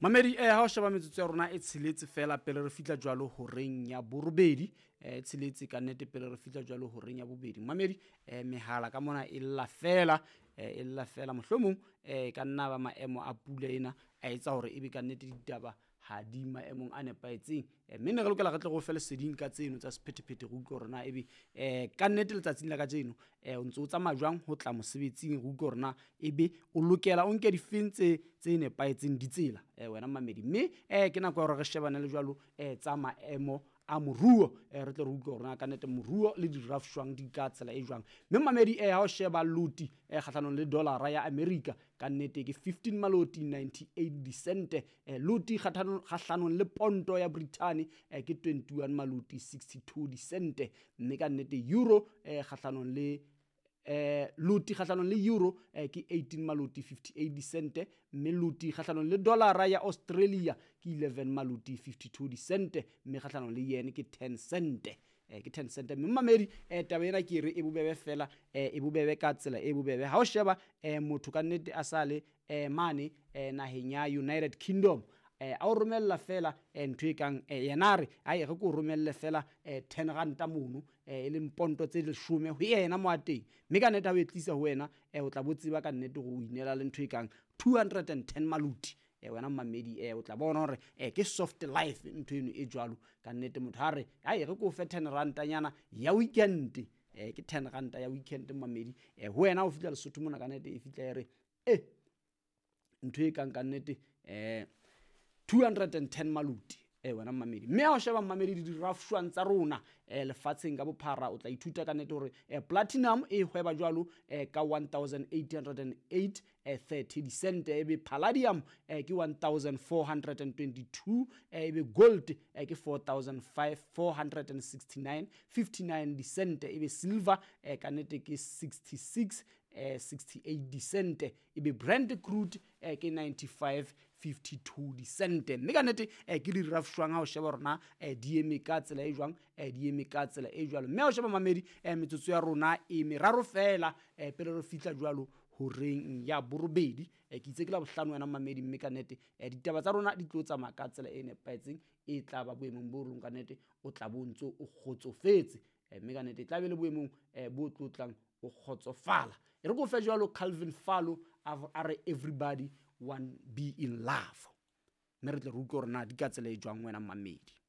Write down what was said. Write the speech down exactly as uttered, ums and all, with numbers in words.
Mamedi, eh ha o sheba metsotso ya rona e tsheletse fela pele re fihla jwalo horeng ya borobedi, eh tsheletse ka nnete pele re fihla jwalo horeng ya bobedi. Mamedi, eh mehala ka mona e lla fela, eh e lla fela mohlomong eh ka nna ba maemo a pula ena a etsa hore ebe ka nnete ditaba ha di maemong a nepahetseng. Mme ne re lokela re tle re o fe leseding ka tseno tsa sephethephethe, re utlwe hore na ebe eh ka nnete letsatsing la kajeno eh o ntso o tsamaya jwang ho tla mosebetsing, re utlwe hore na ebe o lokela o nke difeng tse tse nepahetseng ditsela eh wena mamedi. Mme eh ke nako ya hore re shebane le jwalo eh tsa maemo a moruo, eh re tle re utlwe hore na ka nnete moruo le dirafshwang di ka tsela e jwang. Mme mamedi, eh ha o sheba loti eh kgahlanong le dollar ya America ka nnete ke fifteen maloti ninety-eight dicente, eh loti kgahlanong le ponto ya Britain eh ke twenty-one maloti sixty-two dicente. Mme ka nnete euro eh kgahlanong le eh loti kgahlanong le euro eh ke eighteen maloti fifty-eight dicente, mme loti kgahlanong le dollar ya Australia ke eleven maloti fifty-two dicente, mme kgahlanong le yen ke ten cent, eh ke ten cent. Mme mamedi, eh taba ena ke re e bobebe fela, eh e bobebe ka tsela e bobebe. Ha o sheba eh motho ka nnete a sale eh mane eh naheng ya United Kingdom, eh a o romella fela ntho e kang yena re ai re ko romelle fela ten ranta mono, e leng ponto tse leshome ho yena mo a teng, mme ka nnete ha o e tlisa ho wena o tla bo tseba ka nnete hore o inela le ntho e kang two hundred and ten maluti. Wena mamedi, o tla bona hore ke soft life ntho eno e jwalo. Ka nnete motho ha re ai re ko fe ten ranta nyana ya weekend, ke ten ranta ya weekend mamedi, ho wena o fihla Lesotho mona ka nnete e fihla e re eh ntho e kang ka nnete eh two hundred and ten maluti eh wena mamedi. Mme ha o sheba mamedi di dirafshwang tsa rona eh lefatsheng ka bophara, o tla ithuta ka nnete hore eh platinum e hweba jwalo eh ka one thousand eight hundred and eight eh thirty dicent, ebe palladium eh ke one thousand four hundred and twenty-two, ebe gold eh ke four thousand five four hundred and sixty-nine fifty-nine dicent, ebe silver eh ka nnete ke sixty-six eh sixty-eight dicent, ebe Brent crude eh ke ninety-five fifty-two dicent. Mme ka nnete eh ke dirafshwang ha o sheba rona eh di eme ka tsela e jwang, eh di eme ka tsela e jwalo. Mme ha o sheba mamedi, eh metsotso ya rona e meraro fela eh pele re fihla jwalo horeng ya borobedi, eh ke itse ke la bohlano wena mamedi. Mme ka nnete eh ditaba tsa rona di tlo tsamaya ka tsela e nepahetseng, e tla ba boemong bo rong ka nnete o tla bo ntso o kgotsofetse, mme ka nnete e tla be le boemong bo tlotlang o kgotsofala. E re ko fe jwalo Calvin Falo a re everybody want be in love, mme re tle re utlwe hore na di ka tsela e jwang wena mamedi.